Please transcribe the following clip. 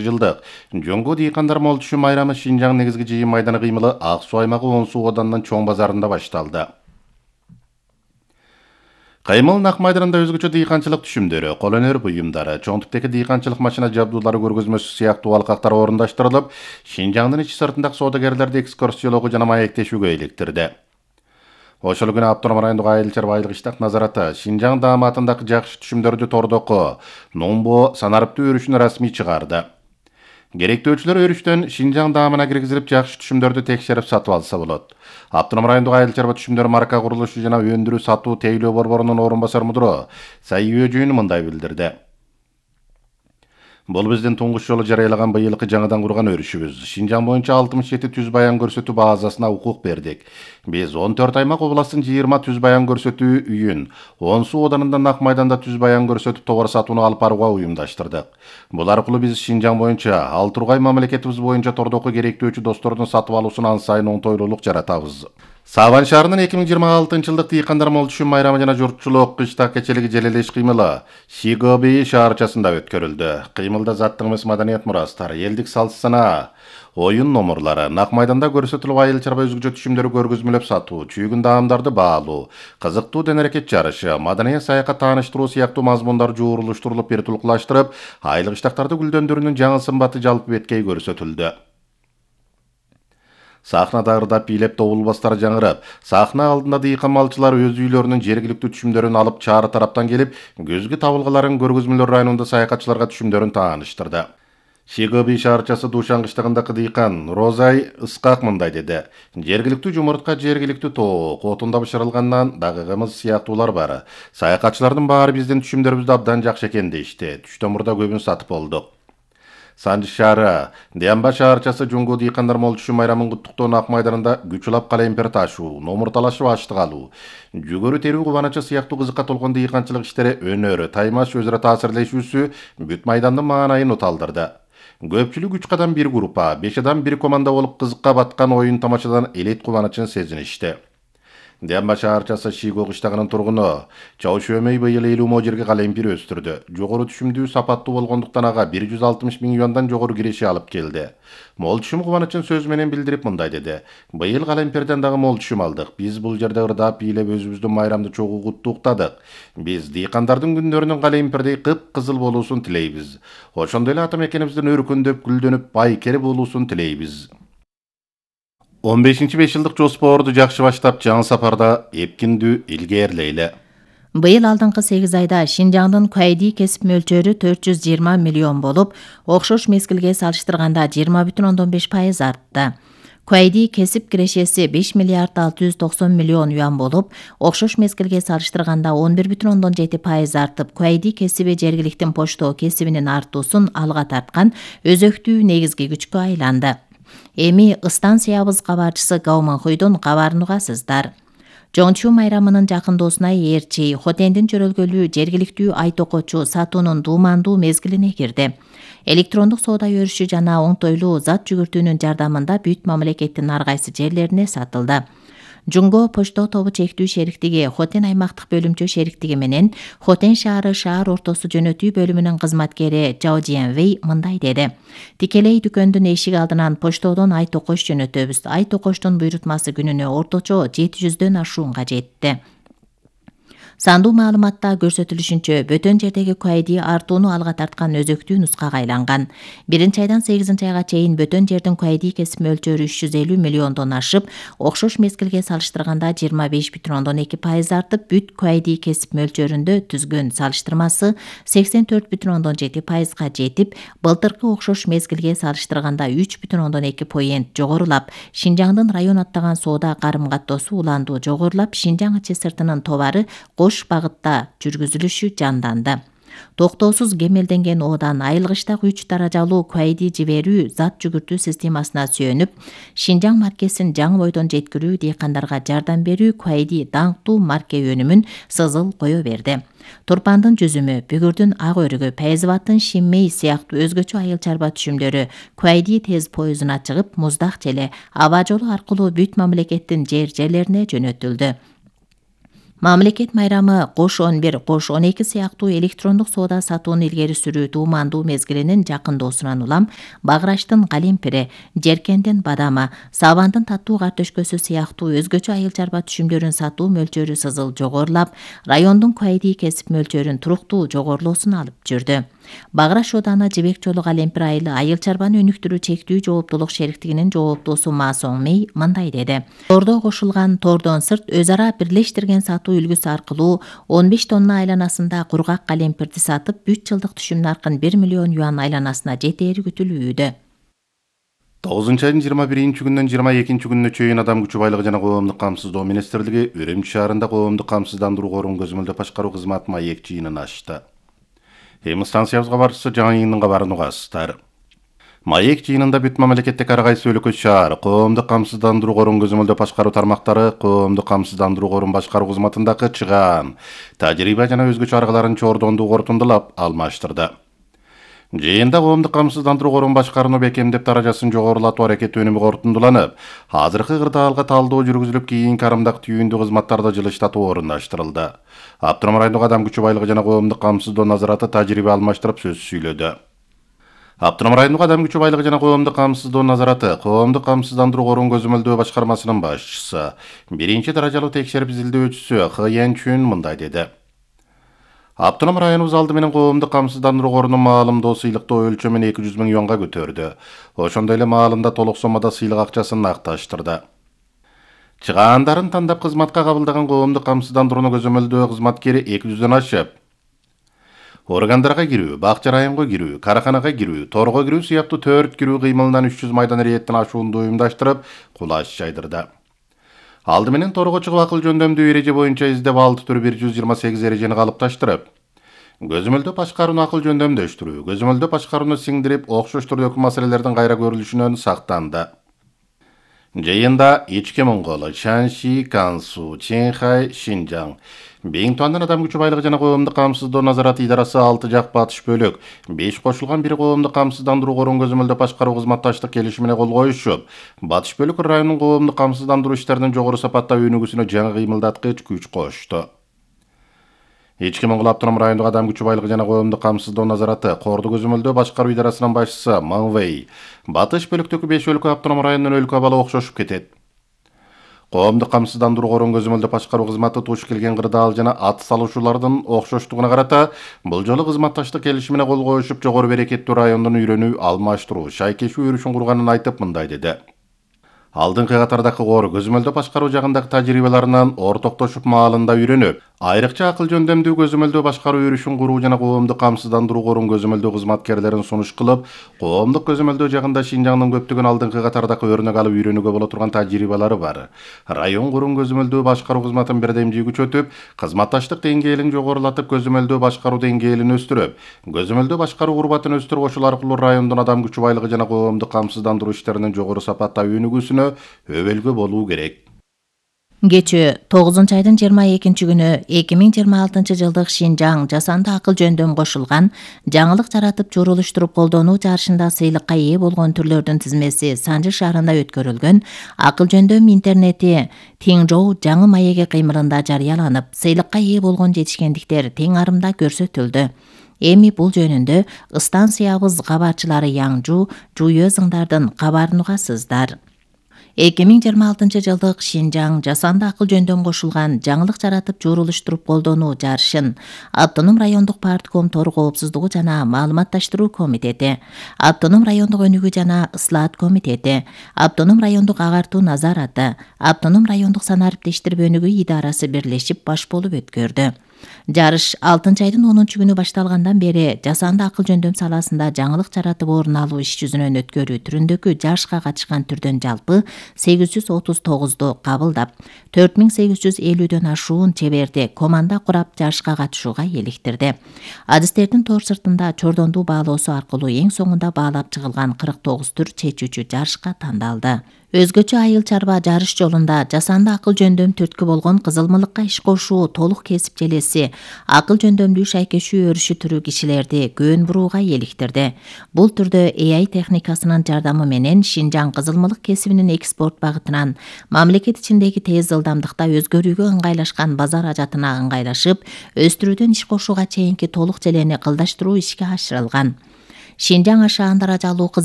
жылдык жоңго дыйкандар молчу майрамы Шинжаң негизги жыйын майданы кыймылы Ак Суу аймагы Оң Суу оданынан чоң базарында башталды. Кыймыл Нак майданында өзгөчө дыйканчылык түшүмдөрү, кол өнөр буюмдары, чоң типтеги дыйканчылык машина жабдуулары көргөзмөсү сыяктуу алкактар орундаштырылып, Шинжаңдын ичи сыртындагы соодагерлерди экскурсиялоого жана маектешүүгө иликтирди. Ошол күнү Автоном райондук айыл чарбалык иштак назараты Шинжаң дааматындагы жакшы түшүмдөрдү тордоко, Номбо санарыптуу өрүшүн расмий чыгарды. Керектөөчүлөр өрүштөн Шинжаң даамына киргизилип, жакшы түшүмдөрдү текшерип сатып алса болот. Автоном райондук айыл чарба түшүмдөр марка курулушу жана өндүрүү сатуу тейлөө борборунун орун басар мудуру Сайы Өжүйүн мындай билдирди. Бул биздин туңгуч жолу жарыялаган быйылкы жаңыдан курган өрүшүбүз. Шинжаң боюнча 67 түз баян көрсөтүү базасына укук бердик. Биз 14 аймак областын 20 түз баян көрсөтүү үйүн, Оң Суу оданында Нак майданда түз баян көрсөтүп товар сатууну алып барууга уюмдаштырдык. Бул аркылуу биз Шинжаң боюнча ал тургай мамлекетибиз боюнча тордоку керектөөчү достордун сатып алуусун ан сайын оңтойлуулук жаратабыз. Сабан шаарынын 2026-жылдык дыйкандар молчу майрамы жана журтчулук кыштак кечелиги желелеш кыймылы Шигоби шаарчасында өткөрүлдү. Кыймылда заттык эмес маданият мурастар, элдик салт санаа, оюн номурлары, Нак майданда көрсөтүлүп айыл чарба өзгөчө түшүмдөрү көргөзмөлөп сатуу, чүйгүн даамдарды баалуу, кызыктуу дене-аракет жарышы, маданий саякат тааныштыруу сыяктуу мазмундар жуурулуштурулуп, бир тулкулаштырып, айылык иштактарды гүлдөндүрүүнүн жаңы сымбаты жалпы беткей көрсөтүлдү. Сахнада ырдап бийлеп добулбастар жаңырып, сахна алдында дыйкан малчылар өз үйлөрүнүн жергиликтүү түшүмдөрүн алып чаары тараптан келип, көзгү табылгаларын көргөзмөлөр районунда саякатчыларга түшүмдөрүн тааныштырды. Шигоби шаарчасы Душан кыштагындагы дыйкан Розай Ыскак мындай деди. Жергиликтүү жумуртка, жергиликтүү тоок, отунда бышырылгандан дагы кымыз сыяктуулар бар. Саякатчылардын баары биздин түшүмдөрүбүздү абдан жакшы экен дешти. Түштөн мурда көбүн сатып болдук. Санжы шаары, Диамба шаарчасы жоңго дыйкандар молчу майрамын куттуктоо Нак майданында күч улап калемпир ташуу, номур талашып аштык алуу, жүгөрү терүү кубанычы сыяктуу кызыкка толгон дыйканчылык иштери өнөрү, таймаш өзара таасирлешүүсү бүт майдандын маанайын уталдырды. Көпчүлүк 3 адам бир группа, 5 адам бир команда болуп кызыкка баткан оюн тамашадан элет кубанычын сезиништи. Диамба шаарчасы Шиго кыштагынын тургуну Чаушөмөй быйыл 50 мо жерге калемпир өстүрдү. Жогору түшүмдүү сапаттуу болгондуктан ага 160 миң юандан жогору киреше алып келди. Мол түшүм кубанычын сөз менен билдирип мындай деди. Быйыл калемпирден дагы мол түшүм алдык. Биз бул жерде ырдап бийлеп өзүбүздүн майрамды чогуу куттуктадык. Биз дыйкандардын күндөрүнүн калемпирдей кып-кызыл болуусун тилейбиз. Ошондой эле ата мекенибиздин өркүндөп, гүлдөнүп, байкер болуусун тилейбиз. 15-5 жылдык жоспорду жакшы баштап, жаңы сапарда эпкиндүү илгээрлейли. Быйыл алдыңкы 8 айда Шинжаңдын куайди кесип мөлчөрү 420 миллион болуп, окшош мезгилге салыштырганда 20,5% артты. Куайди кесип кирешеси 5 миллиард 690 миллион юан болуп, окшош мезгилге салыштырганда 11,7% артып, куайди кесиби жергиликтин почтоо кесибинин артуусун алга тарткан өзөктүү негизги күчкө айланды. Эми станциябыз кабарчысы Гауманхуйдун кабарын угасыздар. Жоңчу майрамынын жакындоосуна ээрчи, хотендин чөрөлгөлүү жергиликтүү ай токочу сатуунун дуумандуу мезгилине кирди. Электрондук соода өрүшү жана оңтойлуу зат жүгүртүүнүн жардамында бүт мамлекеттин ар кайсы жерлерине сатылды. Жунго почто тобу чектүү шериктиги Хотен аймактык бөлүмчө шериктиги менен Хотен шаары шаар ортосу жөнөтүү бөлүмүнүн кызматкери Жао Жиэнвей мындай деди. Тикелей дүкөндүн эшиги алдынан поштодон ай токош жөнөтөбүз. Ай токоштун буйрутмасы күнүнө орточо 700дөн ашуунга жетти. Сандуу маалыматта көрсөтүлүшүнчө бөтөн жердеги куайди артууну алга тарткан өзөктүү нускага айланган. 1-айдан 8-айга чейин бөтөн жердин куайди кесип мөлчөрү 350 миллиондон ашып, окшош мезгилге салыштырганда 25,2% артып, бүт куайди кесип мөлчөрүндө түзгөн салыштырмасы 84,7%га жетип, былтыркы окшош мезгилге салыштырганда 3,2% жогорулап, Шинжаңдын район аттаган соода карым-каттоосу уландуу жогорулап, Шинжаң ичи сыртынын товары кош багытта жүргүзүлүшү жанданды. Токтоосуз кемелденген оодан айылгычтагы 3 даражалуу куайди жиберүү зат жүгүртүү системасына сүйөнүп, Шинжаң маркесин жаңы бойдон жеткирүү, дыйкандарга жардам берүү куайди даңктуу марке өнүмүн сызыл кое берди. Турпандын жүзүмү, бүгүрдүн ак өрүгү, Пайзыбаттын Шинмей сыяктуу өзгөчө айыл чарба түшүмдөрү куайди тез поездуна чыгып, Муздак желе аба жолу аркылуу бүт мамлекеттин жерлерине жөнөтүлдү. Мамлекет майрамы кош 11, кош 12 сыяктуу электрондук соода сатууну илгери сүрүү туумандуу мезгилинин жакындоосунан улам багыраштын калемпири, жеркендин бадамы, сабандын таттуу картөшкөсү сыяктуу өзгөчө айыл чарба түшүмдөрүн сатуу мөлчөрү сызыл жогорулап, райондун куайдий кесип мөлчөрүн туруктуу жогорулоосуна алып жүрдү. Багыраш ооданы Жибек Жолу калемпир айыл чарбаны өнүктүрүү чектүү жооптуулук шериктигинин жооптуусу Ма Соң Мей мындай деди. Тордо кошулган, тордон сырт өз ара бирлештирген сатуу үлгүсү аркылуу 15 тонна айланасында кургак калемпирди сатып 3 жылдык түшүм наркын 1 миллион юан айланасына жетери күтүлүүдө. 9-айдын 21-күнүнөн 22-күнүнө чейин Адам күчү байлыгы жана коомдук камсыздоо министрлиги Үрүмчү шаарында коомдук камсыздандыруу корун көзөмөлдөп башкаруу кызматы маек жыйынын ачты. Эми станциябызга барчысы жаңы йыйындын кабарын угасыздар. Маек жыйынында бүт мамлекеттик ар кайсы өлкө шаар коомдук камсыздандыруу корун көзөмөлдөп башкаруу тармактары коомдук камсыздандыруу корун башкаруу кызматындагы чыгаан, тажрыйба жана өзгөчө аргаларын чордондуу корутундулап алмаштырды. Жыйында коомдук камсыздандыруу корун башкарууну бекемдеп даражасын жогорулатуу аракети өнүмү корутундуланып, азыркы кырдаалга талдоо жүргүзүлүп, кийинки карымдак түйүндүү кызматтарды жылыштатуу орундаштырылды. Автоном райондук Адам күчү байлыгы жана коомдук камсыздоо назараты тажрыйба алмаштырып сөз сүйлөдү. Автоном райондук Адам күчү байлыгы жана коомдук камсыздоо назараты коомдук камсыздандыруу корун көзөмөлдөө башкармасынын башчысы, 1-даражалуу текшерип изилдөөчүсү Х Янчүн мындай деди. Автоном районубуз алды менен коомдук камсыздандыруу корунун маалымдоо сыйлыктоо өлчөмүн 200 000 юанга көтөрдү. Ошондой эле маалында толук соммада сыйлык акчасын акташтырды. Чыгаандарын тандап кызматка кабылдаган коомдук камсыздандырууну көзөмөлдөө кызматкери 200дөн ашып, органдарга кирүү, бакча районго кирүү, караханага кирүү, торго кирүү сыяктуу 4 кирүү кыймылынан 300 майдан эрийеттен ашуунду уюмдаштырып, кулаш жайдырды. Алды менен торго чыгып акыл жөндөмдүү эреже боюнча издеп 6 түр 128 эрежени калыпташтырып, көзөмөлдөп башкарууну акыл жөндөмдөштүрүү, көзөмөлдөп башкарууну сиңдирип, окшош түрдөгү маселелердин кайра көрүлүшүнөн сактанды. Жыйында Ички Моңгол, Шанши, Кансу, Чэнхай, Шинжаң, Бейинтуандын Адам күчү байлыгы жана коомдук камсыздоо назараты идарасы 6 жак батыш бөлүк, 5 кошулган 1 коомдук камсыздандыруу корун көзөмөлдөп башкаруу кызматташтык келишимине кол коюшуп, батыш бөлүк районунун коомдук камсыздандыруу иштеринин жогору сапаттаа өнүгүүсүнө жаңы кыймылдаткыч күч кошту. Ички Моңгол автоном райондук Адам күчү байлыгы жана коомдук камсыздоо назараты корду көзөмөлдөө башкаруу идарасынын башчысы Ман Вэй, батыш бөлүктөгү 5 өлкө автоном районунун өлкө абалы окшошуп кетет. Коомдук камсыздандыруу корун көзөмөлдөп башкаруу кызматы туш келген кырдаал жана ат салуучулардын окшоштугуна карата бул жолу кызматташтык келишимине кол коюшуп, жогору берекеттүү райондун үйрөнүү, алмаштыруу, шайкешүү өрүшүн курганын айтып мындай деди. Алдыңкы катардагы кор көзөмөлдөп башкаруу жагындагы тажрыйбаларынан ортоктошуп маалында үйрөнүп, айрыкча акыл жөндөмдүү көзөмөлдөө башкаруу өрүшүн куруу жана коомдук камсыздандыруу корун көзөмөлдөө кызматкерлерин сунуш кылып, коомдук көзөмөлдөө жагында Шинжаңдын көптөгөн алдыңкы катардагы өрнөк алып үйрөнүүгө боло турган тажрыйбалары бар. Район корун көзөмөлдөө башкаруу кызматын бирдемдүү күчөтүп, кызматташтык деңгээлин жогорулатып, көзөмөлдөө башкаруу деңгээлин өстүрүп, көзөмөлдөө башкаруу урбатын өстүрүп, ошол аркылуу райондун Адам күчү байлыгы жана коомдук камсыздандыруу иштеринин жогору сапатта өнүгүүсүнө өбөлгө болуу керек. Кечээ 9-айдын 22-күнү 2026 жылдык Шинжаң жасанды акыл жөндөм кошулган жаңылык жаратып журулуштуруп колдонуу жарышында сыйлыкка ээ болгон түрлөрдүн тизмеси Санжы шаарында өткөрүлгөн акыл жөндөм интернети Теңжоу жаңы маеги кыймылында жарыяланып, сыйлыкка ээ болгон жетишкендиктер тең арымда көрсөтүлдү. Эми бул жөнүндө станциябыз кабарчылары Яңжу, Жуйө зыңдардын кабарын угасыздар. 2026 жылдык Шинжаң жасанды акыл жөндөм кошулган жаңылык жаратып журулуштуруп колдонуу жарышын Автоном райондук партком тор коопсуздугу жана маалыматташтыруу комитети, Автоном райондук өнүгүү жана ыслаат комитети, Автоном райондук агартуу назараты, Автоном райондук санариптештирип өнүгүү идарасы бирлешип баш болуп өткөрдү. Жарыш 6-айдын 10-күнү башталгандан бери жасанды акыл жөндөм саласында жаңылык жаратып орун алуу иш жүзүнөн өткөрүү түрүндөгү жарышка катышкан түрдөн жалпы 839 кабылдап, 4850дөн ашуун чеберди команда курап жарышка катышууга эликтирди. Адистердин тор сыртында чордондуу баалоосу аркылуу эң соңунда баалап чыгылган 49 түр чечүүчү жарышка тандалды. Өзгөчө айыл чарба жарыш жолунда жасанды акыл жөндөм түрткү болгон кызылмылыкка иш кошуу толук кесип желеси акыл жөндөмдүү шайкешүү өрүшү түрүү кишилерди көөн бурууга иликтирди. Бул түрдө AI техникасынын жардамы менен Шинжаң кызылмылык кесибинин экспорт багытынан мамлекет ичиндеги тез ылдамдыкта өзгөрүүгө ыңгайлашкан базар ажатына ыңгайлашып, өстүрүүдөн иш кошууга чейинки толук желени кылдаштыруу ишке ашырылган. Шинжаң ашаан даражалуу кызыл